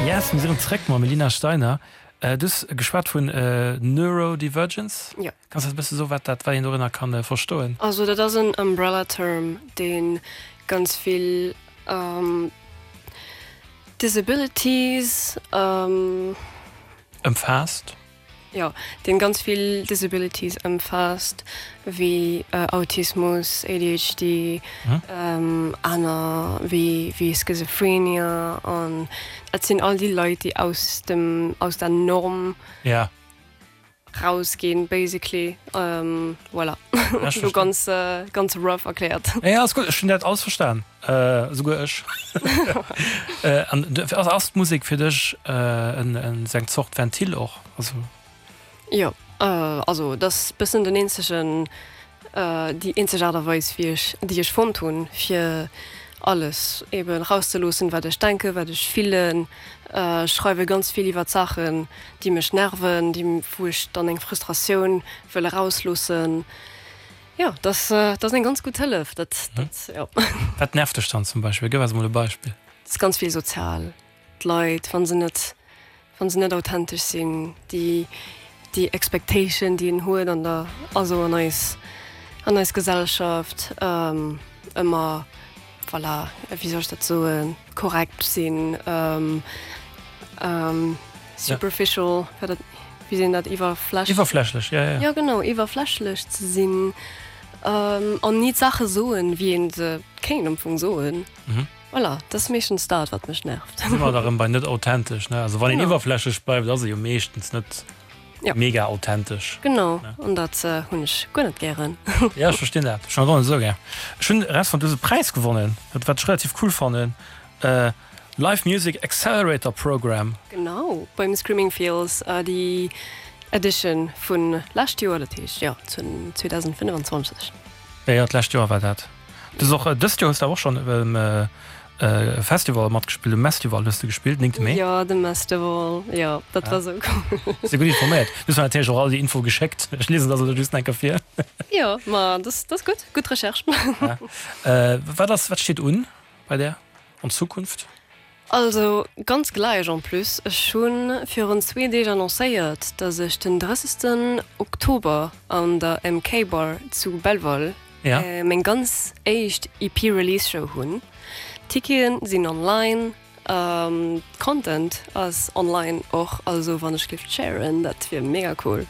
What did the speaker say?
Yes, mir sinn erëm zréck mam Elina Steiner. Du hues geschwat vun Neurodivergence. Jo. Kanns du eis e bësse soen, wat dat, wat een dorënner kann verstoen? Also dat ass en Umbrella Term, dee ganz vill Disabilities. Ëmfaasst. Jo, deen ganz vill Disabilities ëmfaasst, wéi Autismus, ADHD, aner wéi wéi Schizophrenia an dat sinn all déi Leit, déi aus dem aus der Norm Ja. rausginn basically. Voilà, elo ganz ganz rough erkläert. Nee, alles gutt, ech hunn dat alles verstan. Esouguer ech. An ass d'Musek fir dech esou eng Zort Ventil och? Also. Jo, also et ass bëssen den eenzegen, déi eenzeg Aart a Weis wéi ech, déi ech fonnt hunn, fir alles eben erauszeloossen, wat ech denken, wat ech fillen. Ech schreiwe ganz vill iwwert Saachen, déi mech nerven, déi, wou ech dann eng Frustratioun wëll erausloossen. Jo, dat ass eng ganz gutt Hëllef, dat, dat, jo. Wat nervt dech dann zum Beispill? Gëff eis emol e Beispill. Et ass ganz vill sozial. D'Leit, wa se net, wa se net authentesch sinn, déi, déi Expectation, déi een huet an der, also an eis, an eis Gesellschaft, ëmmer, voilà, wéi soll ech dat soen, korrekt sinn, superficial, wat dat, wéi seet een dat, iwwerfläch. Iwwerflächlech, ja, ja. Jo, genau, iwwerflächlech ze sinn an ni d'Saache soen, wéi ee se kéint am Fong soen. Voilà, dat ass meeschtens dat, wat mech nervt. Da si mer da rëm bei net authentesch, ne? Also wann een iwwerflächlech bleift, ass e jo meeschtens net mega authentesch. Genau, an dat hunn ech guer net gären. Ja, ech verstinn dat. Ech hunn dat och net esou gär. Ech hunn erausfonnt, du hues e Präis gewonnen, wat ech relativ cool fannen. Live Music Accelerator Program. Genau, beim Screaming Fields, déi Edition vun lescht Joer, dat heescht jo 2025. Jo, jo, d'lescht Joer war dat. Du hues och dëst Joer hues de awer och schonn um Festival matgespillt, um Mestival hues de gespillt, 9 Mee. Jo, de Mestival, jo, dat war sou cool. Si gutt informéiert. Du hues mer natierlech och all déi Info geschéckt. Ech liesen dat elo just eng Kéier vir. Jo, ma dat ass gutt, gutt Recherche. Wat ass, wat steet un bei där an Zukunft? Also ganz gläich en plus, ech hu virun zwee Deeg annoncéiert, dass ech den 30 Oktober an der MK Bar zu Belval meng ganz éischt EP Release Show hunn. D'Ticketen sinn online, Content ass online och, also wann ech géif sharen, dat wier mega cool.